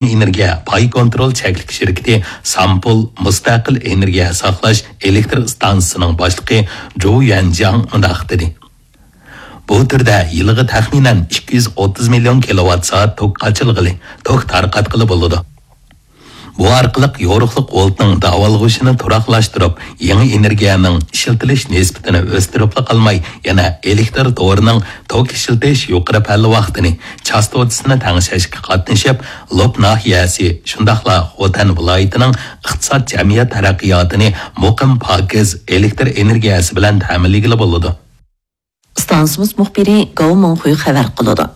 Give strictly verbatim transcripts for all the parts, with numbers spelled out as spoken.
ئېنېرگىيە پاي كونترول چەكلىك شىركىتى سامپول مۇستەقىل ئېنېرگىيە ساقلاش ئېلېكتر ئىستانسىسىنىڭ باشلىقى جۇ يۈەنجياڭ مۇنداق دېدى: بۇ تۈردە يىلىغا تەخمىنەن ئىككى يۈز ئوتتۇز مىليون كىلوۋات سائەت توك قاچىلىغىلى، توك تارقاتقىلى بولىدۇ. بۇ ئارقىلىق يورۇقلۇق ۋولتنىڭ داۋالغۇشىنى تۇراقلاشتۇرۇپ، يېڭى ئېنېرگىيەنىڭ ئىشلىتىلىش نىسبىتىنى ئۆستۈرۈپلا قالماي، يەنە ئېلېكتر تورىنىڭ توك ئىشلىتىش يۇقىرى پەللى ۋاقتىنى، چاستوتىسىنى تەڭشەشكە قاتنىشىپ، لوپ ناھىيەسى، شۇنداقلا خوتەن ۋىلايىتىنىڭ ئىقتىساد، جەمئىيەت تەرەققىياتىنى مۇقىم، پاكىز ئېلېكتر ئېنېرگىيەسى بىلەن تەمىنلىگىلى بولىدۇ. ئىستانسىمىز مۇخبىرى گاۋ مىڭخۇي خەۋەر قىلىدۇ.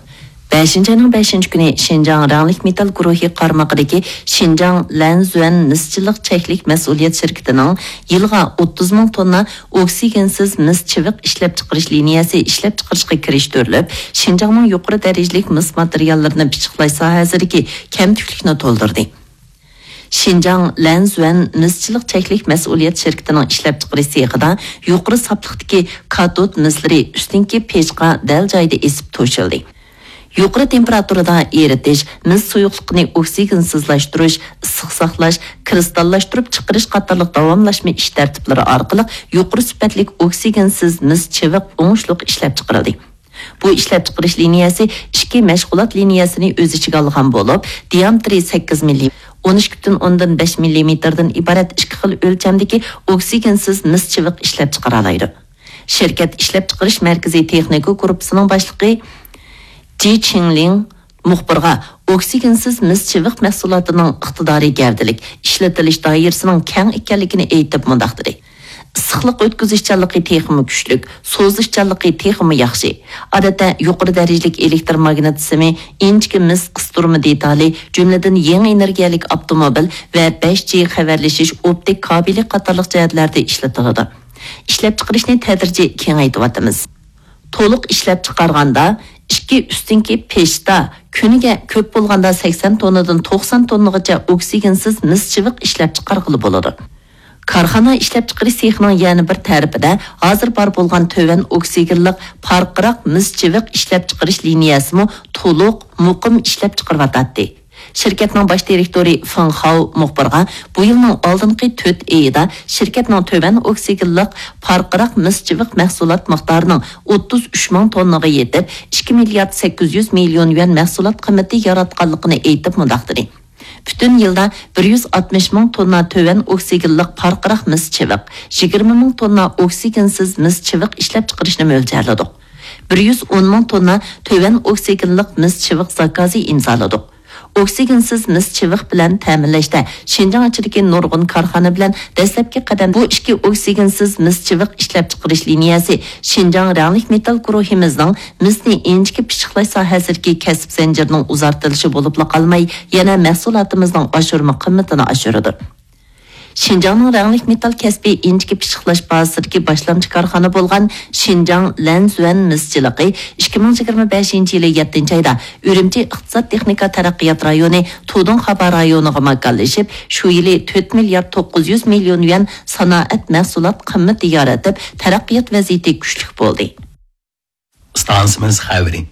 بەشىنچى ئاينىڭ بەشىنچى كۈنى شىنجاڭ رەڭلىك مېتال گۇرۇھى قارمىقىدىكى شىنجاڭ لەنزۈەن مىسچىلىق چەكلىك مەسئۇلىيەت شىركىتىنىڭ يىلىغا ئوتتۇز مىڭ توننا ئوكسىگېنسىز مىس چىۋىق ئىشلەپچىقىرىش لىنىيەسى ئىشلەپچىقىرىشقا كىرىشتۈرۈلۈپ، شىنجاڭنىڭ يۇقىرى دەرىجىلىك مىس ماتېرىياللىرىنى پىششىقلاش ساھەسىدىكى كەمتۈكلۈكنى تولدۇردى. شىنجاڭ لەنزۈەن مىسچىلىق چەكلىك مەسئۇلىيەت شىركىتىنىڭ ئىشلەپچىقىرىش سېخىدا يۇقىرى ساپلىقتىكى كاتود مىسلىرى ئۈستۈنكى پېچقا دەل جايىدا ئېسىپ توشۇلدى. يۇقىرى تېمپېراتۇرىدا ئېرىتىش، مىس سۇيۇقلۇقىنى ئوكسىگېنسىزلاشتۇرۇش، ئىسسىق ساقلاش، كىرىستاللاشتۇرۇپ چىقىرىش قاتارلىق داۋاملاشما ئىش تەرتىپلىرى ئارقىلىق يۇقىرى سۈپەتلىك ئوكسىگېنسىز مىس چىۋىق ئوڭۇشلۇق ئىشلەپچىقىرىلدى. بۇ ئىشلەپچىقىرىش لىنىيەسى ئىككى مەشغۇلات لىنىيەسىنى ئۆز ئىچىگە ئالغان بولۇپ، دىيامېتىرى سەككىز مىللىمېتىر، ئون ئىككى پۈتۈن ئوندىن بەش مىللىمېتىردىن ئىبارەت ئىككى خىل ئۆلچەمدىكى ئوكسىگېنسىز مىس چىۋىق ئىشلەپچىقىرالايدۇ. شىركەت ئىشلەپچىقىرىش مەركىزى تېخنىكا گۇرۇپپىسىنىڭ باشلىقى جى چىڭلىڭ مۇخبىرغا ئوكسىگېنسىز مىس چىۋىق مەھسۇلاتىنىڭ ئىقتىدارى گەۋدىلىك، ئىشلىتىلىش دائىرىسىنىڭ كەڭ ئىكەنلىكىنى ئېيتىپ مۇنداق دېدى: ئىسسىقلىق ئۆتكۈزۈشچانلىقى تېخىمۇ كۈچلۈك، سوزۇشچانلىقى تېخىمۇ ياخشى. ئادەتتە يۇقىرى دەرىجىلىك ئېلېكتر ماگنىت سىمى، ئىنچىكە مىس قىستۇرما دېتالى، جۈملىدىن يېڭى ئېنېرگىيەلىك ئاپتوموبىل ۋە بەش جى خەۋەرلىشىش ئوپتىك كابېلى قاتارلىق جەھەتلەردە ئىشلىتىلىدۇ. ئىشلەپچىقىرىشنى تەدرىجىي كېڭەيتىۋاتىمىز. تولۇق ئىشلەپچىقارغاندا، ئىككى ئۈستۈنكى پېشتا كۈنىگە كۆپ بولغاندا سەكسەن توننىدىن توقسان توننىغىچە ئوكسىگېنسىز مىس چىۋىق ئىشلەپچىقارغىلى بولىدۇ. كارخانا ئىشلەپچىقىرىش سېخىنىڭ يەنە بىر تەرىپىدە ھازىر بار بولغان تۆۋەن ئوكسىگېنلىق پارقىراق مىس چىۋىق ئىشلەپچىقىرىش لىنىيەسىمۇ تولۇق، مۇقىم ئىشلەپچىقىرىۋاتاتتى. شىركەتنىڭ باش دىرېكتورى فېڭ خاۋ مۇخبىرغا بۇ يىلنىڭ ئالدىنقى تۆت ئېيىدا شىركەتنىڭ تۆۋەن ئوكسىگېنلىق پارقىراق مىس چىۋىق مەھسۇلات مىقدارىنىڭ ئوتتۇز ئۈچ مىڭ توننىغا يېتىپ، ئىككى مىليارد سەككىز يۈز مىليون يۈەن مەھسۇلات قىممىتى ياراتقانلىقىنى ئېيتىپ مۇنداق دېدى: پۈتۈن يىلدا بىر يۈز ئاتمىش مىڭ توننا تۆۋەن ئوكسىگېنلىق پارقىراق مىس چىۋىق، يىگىرمە مىڭ توننا ئوكسىگېنسىز مىس چىۋىق ئىشلەپچىقىرىشنى مۆلچەرلىدۇق. بىر يۈز ئون مىڭ توننا تۆۋەن ئوكسىگېنلىق مىس چىۋىق زاكازى ئىمزالىدۇق. ئوكسىگېنسىز مىس چىۋىق بىلەن تەمىنلەشتە شىنجاڭ ئىچىدىكى نۇرغۇن كارخانا بىلەن دەسلەپكى قەدەم. بۇ ئىككى ئوكسىگېنسىز مىس چىۋىق ئىشلەپچىقىرىش لىنىيەسى شىنجاڭ رەڭلىك مېتال گۇرۇھىمىزنىڭ مىسنى ئىنچىكە پىششىقلاش ساھەسىدىكى كەسىپ زەنجىرىنىڭ ئۇزارتىلىشى بولۇپلا قالماي، يەنە مەھسۇلاتىمىزنىڭ ئاشۇرما قىممىتىنى ئاشۇرىدۇ. شىنجاڭنىڭ رەڭلىك مېتال كەسپى ئىنچىكە پىششىقلاش بازىسىدىكى باشلامچى كارخانا بولغان شىنجاڭ لەنزۈەن مىسچىلىقى ئىككى مىڭ يىگىرمە بەشىنچى يىلى يەتتىنچى ئايدا ئۈرۈمچى ئىقتىساد تېخنىكا تەرەققىيات رايونى تۇدۇڭخابا رايونىغا ماكانلىشىپ، شۇ يىلى تۆت مىليارد توققۇز يۈز مىليون يۈەن سانائەت مەھسۇلات قىممىتى يارىتىپ، تەرەققىيات ۋەزىيىتى كۈچلۈك بولدى. ئىستانسىمىز خەۋىرى.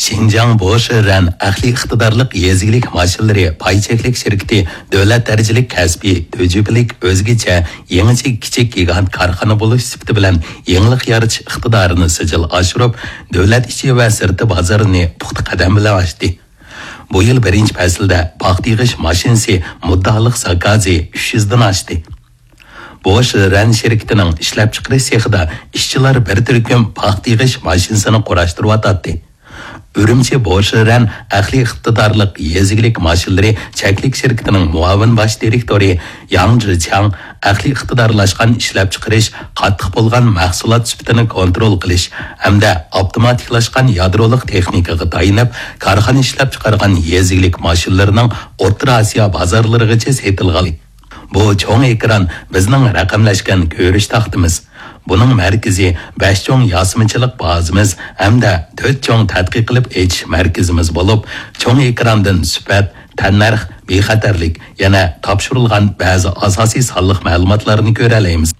شىنجاڭ بوشىرەن ئەقلىي ئىقتىدارلىق يېزا ئىگىلىك ماشىنىلىرى پاي چەكلىك شىركىتى دۆلەت دەرىجىلىك كەسپىي تۈجۈپىلىك ئۆزگىچە يېڭىچە كىچىك گىگانت كارخانا بولۇش سۈپىتى بىلەن يېڭىلىق يارىتىش ئىقتىدارىنى سىجىل ئاشۇرۇپ، دۆلەت ئىچى ۋە سىرتى بازىرىنى پۇختا قەدەم بىلەن ئاچتى. بۇ يىل بىرىنچى پەسىلدە پاختا يىغىش ماشىنىسى مۇددىئالىق زاكازى ئۈچ يۈزدىن ئاشتى. بوش رەن شىركىتىنىڭ ئىشلەپچىقىرىش سېخىدا ئىشچىلار بىر تۈركۈم پاختا يىغىش ماشىنىسىنى قۇراشتۇرۇۋاتاتتى. ئۈرۈمچى بوش رەن ئەقلىي ئىقتىدارلىق يېزا ئىگىلىك ماشىنىلىرى چەكلىك شىركىتىنىڭ مۇئاۋىن باش دىرېكتورى ياڭ جىچياڭ ئەقلىي ئىقتىدارلاشقان ئىشلەپچىقىرىش، قاتتىق بولغان مەھسۇلات سۈپىتىنى كونترول قىلىش ھەمدە ئاپتوماتىكلاشقان يادرولۇق تېخنىكىغا تايىنىپ، كارخانا ئىشلەپچىقارغان يېزا ئىگىلىك ماشىنىلىرىنىڭ ئوتتۇرا ئاسىيا بازارلىرىغىچە سېتىلغان. بۇ چوڭ ئېكران بىزنىڭ رەقەملەشكەن كۆرۈش تاختىمىز. بۇنىڭ مەركىزى بەش چوڭ ياسىمىچىلىق بازىمىز ھەمدە تۆت چوڭ تەتقىق قىلىپ ئېچىش مەركىزىمىز بولۇپ، چوڭ ئېكراندىن سۈپەت، تەننەرخ، بىخەتەرلىك، يەنە تاپشۇرۇلغان بەزى ئاساسىي سانلىق مەلۇماتلارنى كۆرەلەيمىز.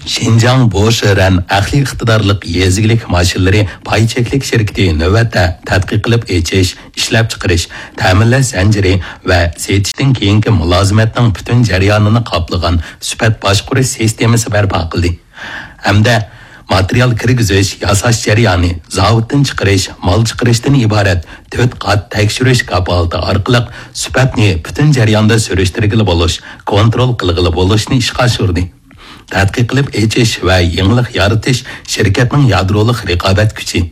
شىنجاڭ بوشرەن ئەقلىي ئىقتىدارلىق يېزا ئىگىلىك ماشىنىلىرى پاي چەكلىك شىركىتى نۆۋەتتە تەتقىق قىلىپ ئېچىش، ئىشلەپچىقىرىش، تەمىنلەش زەنجىرى ۋە سېتىشتىن كېيىنكى مۇلازىمەتنىڭ پۈتۈن جەريانىنى قاپلىغان سۈپەت باشقۇرۇش سىستېمىسى بەرپا قىلدى. ھەمدە ماتېرىيال كىرگۈزۈش، ياساش جەريانى، زاۋۇتتىن چىقىرىش، مال چىقىرىشتىن ئىبارەت تۆت قات تەكشۈرۈش كاپالىتى ئارقىلىق سۈپەتنى پۈتۈن جەرياندا سۈرۈشتۈرگىلى بولۇش، كونترول قىلغىلى بولۇشنى ئىشقا ئاشۇردى. تەتقىق قىلىپ ئېچىش ۋە يېڭىلىق يارىتىش شىركەتنىڭ يادرولۇق رىقابەت كۈچى.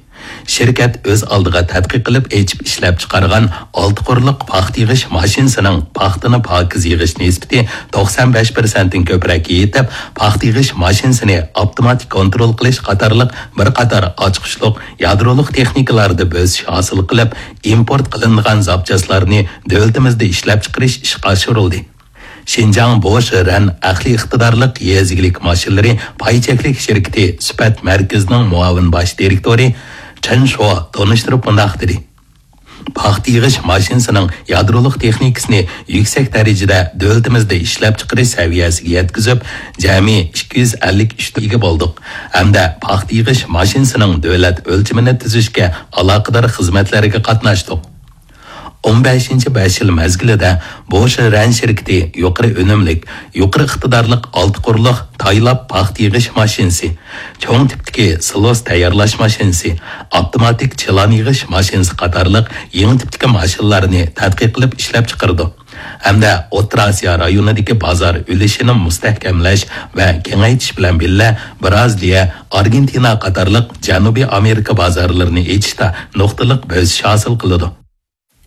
شىركەت ئۆز ئالدىغا تەتقىق قىلىپ ئېچىپ ئىشلەپچىقارغان ئالتە قۇرلۇق پاختا يىغىش ماشىنىسىنىڭ پاختىنى پاكىز يىغىش نىسبىتى توقسان بەش پىرسەنتتىن كۆپرەك يېتىپ، پاختا يىغىش ماشىنىسىنى ئاپتوماتىك كونترول قىلىش قاتارلىق بىر قاتار ئاچقۇچلۇق يادرولۇق تېخنىكىلاردا بۆسۈش ھاسىل قىلىپ، ئىمپورت قىلىنىدىغان زاپچاسلارنى دۆلىتىمىزدە ئىشلەپچىقىرىش ئىشقا ئاشۇرۇلدى. شىنجاڭ بوشرەن ئەقلىي ئىقتىدارلىق يېزا ئىگىلىك ماشىنىلىرى پاي چەكلىك شىركىتى سۈپەت مەركىزىنىڭ مۇئاۋىن باش دىرېكتورى چېن شو تونۇشتۇرۇپ مۇنداق دېدى: پاختا يىغىش ماشىنىسىنىڭ يادرولۇق تېخنىكىسىنى يۈكسەك دەرىجىدە دۆلىتىمىزدە ئىشلەپچىقىرىش سەۋىيەسىگە يەتكۈزۈپ، جەمئىي ئىككى يۈز ئەللىك ئۈچ ئىگە بولدۇق ھەمدە پاختا يىغىش ماشىنىسىنىڭ دۆلەت ئۆلچىمىنى تۈزۈشكە ئالاقىدار خىزمەتلەرگە قاتناشتۇق. ئون بەشىنچى بەش يىل مەزگىلىدە بوشرەن شىركىتى يۇقىرى ئۈنۈملۈك، يۇقىرى ئىقتىدارلىق ئالتە قۇرلۇق تايلاپ پاختا يىغىش ماشىنىسى، چوڭ تىپتىكى سىلوس تەييارلاش ماشىنىسى، ئاپتوماتىك چىلان يىغىش ماشىنىسى قاتارلىق يېڭى تىپتىكى ماشىنىلارنى تەتقىق قىلىپ ئىشلەپچىقىرىدۇ ھەمدە ئوتتۇرا ئاسىيا رايونىدىكى بازار ئۈلۈشىنى مۇستەھكەملەش ۋە كېڭەيتىش بىلەن بىللە، بىرازىلىيە، ئارگېنتىنا قاتارلىق جەنۇبىي ئامېرىكا بازارلىرىنى ئېچىشتا نۇقتىلىق بۆسۈش ھاسىل قىلىدۇ.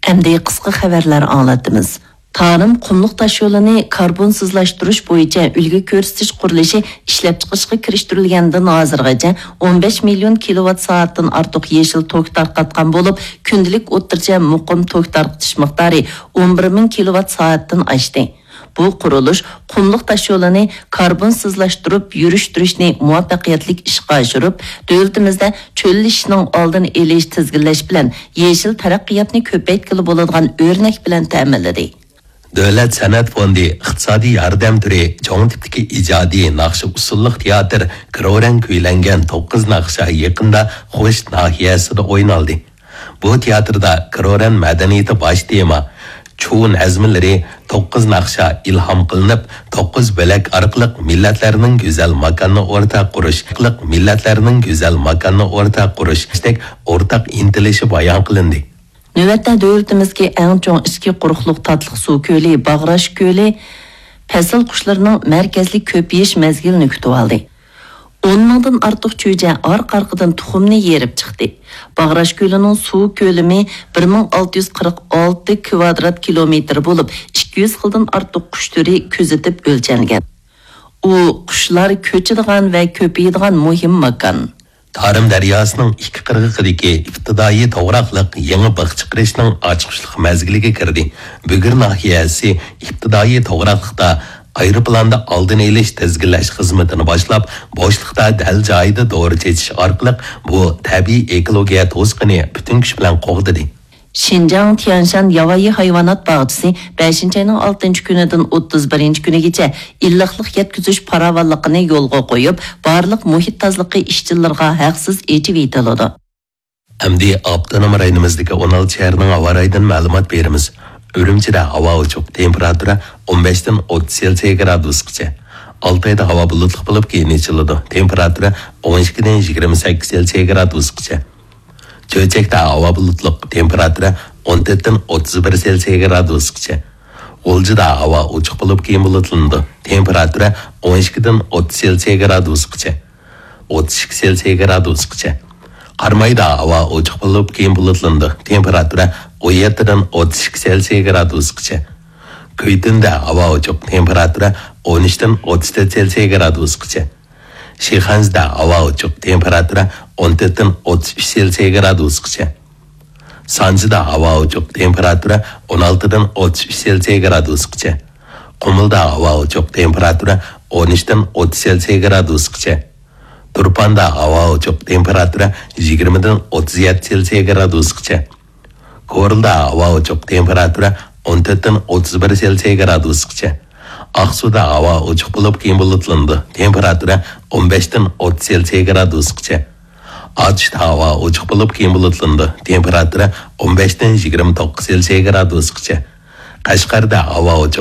ئەمدى قىسقا خەۋەرلەر ئاڭلاتىمىز. تارىم قۇملۇق تاشيولىنى كاربونسىزلاشتۇرۇش بويىچە ئۈلگە كۆرسىتىش قۇرۇلۇشى ئىشلەپچىقىرىشقا كىرىشتۈرۈلگەندىن ھازىرغىچە ئون بەش مىليون كىلوۋات سائەتتىن ئارتۇق يېشىل توك تارقاتقان بولۇپ، كۈندىلىك ئوتتۇرىچە مۇقىم توك تارقىتىش مىقدارى ئون بىر مىڭ كىلوۋات سائەتتىن ئاشتى. بۇ قۇرۇلۇش قۇملۇق تاشيولىنى كاربونسىزلاشتۇرۇپ يۈرۈشتۈرۈشنى مۇۋەپپەقىيەتلىك ئىشقا ئاشۇرۇپ، دۆلىتىمىزدە چۆللىشىشنىڭ ئالدىنى ئېلىش، تىزگىنلەش بىلەن يېشىل تەرەققىياتنى كۆپەيتكىلى بولىدىغان ئۆرنەك بىلەن تەمىنلىدى. دۆلەت سەنئەت فوندى ئىقتىسادىي ياردەم تۈرى چوڭ تىپتىكى ئىجادىي ناخشا ئۇسسۇللۇق تىياتىر كرورەن كۈيلەنگەن توققۇز ناخشا يېقىندا خوش ناھىيەسىدە ئوينالدى. بۇ تىياتىردا كرورەن مەدەنىيىتى باش تېما، چۇ نەزمىلىرى، توققۇز ناخشا ئىلھام قىلىنىپ، توققۇز بۆلەك ئارقىلىق مىللەتلەرنىڭ گۈزەل ماكاننى ئورتاق قۇرۇش، مىللەتلەرنىڭ گۈزەل ماكاننى ئورتاق قۇرۇشتەك ئورتاق ئىنتىلىشى بايان قىلىندى. نۆۋەتتە دۆلىتىمىزدىكى ئەڭ چوڭ ئىچكى قۇرۇقلۇق تاتلىق سۇ كۆلى باغراش كۆلى پەسىل قۇشلىرىنىڭ مەركەزلىك كۆپىيىش مەزگىلىنى كۈتۈۋالدى. ئون مىڭدىن ئارتۇق چۈجە ئارقا-ئارقىدىن تۇخۇمنى يېرىپ چىقتى. باغراش كۆلىنىڭ سۇ كۆلىمى بىر مىڭ ئالتە يۈز قىرىق ئالتە كىۋادرات كىلومېتىر بولۇپ، ئىككى يۈز خىلدىن ئارتۇق قۇش تۈرى كۆزىتىپ ئۆلچەنگەن. ئۇ قۇشلار كۆچىدىغان ۋە كۆپىيىدىغان مۇھىم ماكان. تارىم دەرياسىنىڭ ئىككى قىرغىقىدىكى ئىپتىدائىي توغراقلىق يېڭى بىخ چىقىرىشنىڭ ئاچقۇچلۇق مەزگىلىگە كىردى. بۈگۈر ناھىيەسى ئىپتىدائىي توغراقلىقتا ئايروپىلاندا ئالدىنى ئېلىش، تىزگىنلەش خىزمىتىنى باشلاپ، بوشلۇقتا دەل جايىدا دورا چېچىش ئارقىلىق بۇ تەبىئىي ئېكولوگىيە توسۇقىنى پۈتۈن كۈچ بىلەن قوغدىدى. شىنجاڭ تيەنشان ياۋايى ھايۋانات باغچىسى بەشىنچى ئاينىڭ ئالتىنچى كۈنىدىن ئوتتۇز بىرىنچى كۈنىگىچە ئىللىقلىق يەتكۈزۈش پاراۋانلىقىنى يولغا قويۇپ، بارلىق مۇھىت تازىلىقى ئىشچىلىرىغا ھەقسىز ئېچىۋېتىلىدۇ. ئەمدى ئاپتونوم رايونىمىزدىكى ئون ئالتە شەھەرنىڭ ھاۋا رايىدىن مەلۇمات بېرىمىز. ئۈرۈمچىدە ھاۋا ئوچۇق، تېمپېراتۇرا ئون بەشتىن ئوتتۇز سېلسىيە گرادۇسقىچە. ئالتايدا ھاۋا بۇلۇتلۇق بولۇپ، كېيىن ئېچىلىدۇ، تېمپېراتۇرا ئون ئىككىدىن يىگىرمە سەككىز سېلسىيە گرادۇسقىچە. چۆچەكتە ھاۋا بۇلۇتلۇق، تېمپېراتۇرا ئون تۆتتىن ئوتتۇز بىر سېلسىيە گرادۇسقىچە. غۇلجىدا ھاۋا ئوچۇق بولۇپ، كېيىن بۇلۇتلىنىدۇ، تېمپېراتۇرا ئون ئىككىدىن ئوتتۇز سېلسىيە گرادۇسقىچە. ئوتتۇز ئىككى سېلسىيە گرادۇسقىچە. قارامايدا ھاۋا ئوچۇق بولۇپ، كېيىن بۇلۇتلىنىدۇ، تېمپېراتۇرا ئون يەتتىدىن ئوتتۇز ئىككى سېلسىيە گرادۇسقىچە. كۈيتۈندە ھاۋا ئوچۇق، تېمپېراتۇرا ئون ئۈچتىن ئوتتۇز تۆت سېلسىيە گرادۇسقىچە. شىخەنزىدە ھاۋا ئوچۇق، تېمپېراتۇرا ئون تۆتتىن ئوتتۇز ئۈچ سېلسىيە گرادۇسقىچە. سانجىدا ھاۋا ئوچۇق، تېمپېراتۇرا ئون ئالتىدىن ئوتتۇز ئۈچ سېلسىيە گرادۇسقىچە. قۇمۇلدا ھاۋا ئوچۇق، تېمپېراتۇرا ئون ئۈچتىن ئوتتۇز سېلسىيە گرادۇسقىچە. تۇرپاندا ھاۋا ئوچۇق، تېمپېراتۇرا يىگىرمىدىن ئوتتۇز يەتتە سېلسىيە گرادۇسقىچە. كورلىدا ھاۋا ئوچۇق، تېمپېراتۇرا ئون تۆتتىن ئوتتۇز بىر سېلسىيە گرادۇسقىچە. ئاقسۇدا ھاۋا ئوچۇق بولۇپ، كېيىن بۇلۇتلىنىدۇ. تېمپېراتۇرا ئون بەشتىن ئوتتۇز سېلسىيە گرادۇسقىچە. ئاتۇشتا ھاۋا ئوچۇق بولۇپ، كېيىن بۇلۇتلىنىدۇ. تېمپېراتۇرا ئون بەشتىن يىگىرمە توققۇز سېلسىيە گرادۇسقىچە. قەشقەردە ھاۋا ئوچۇق.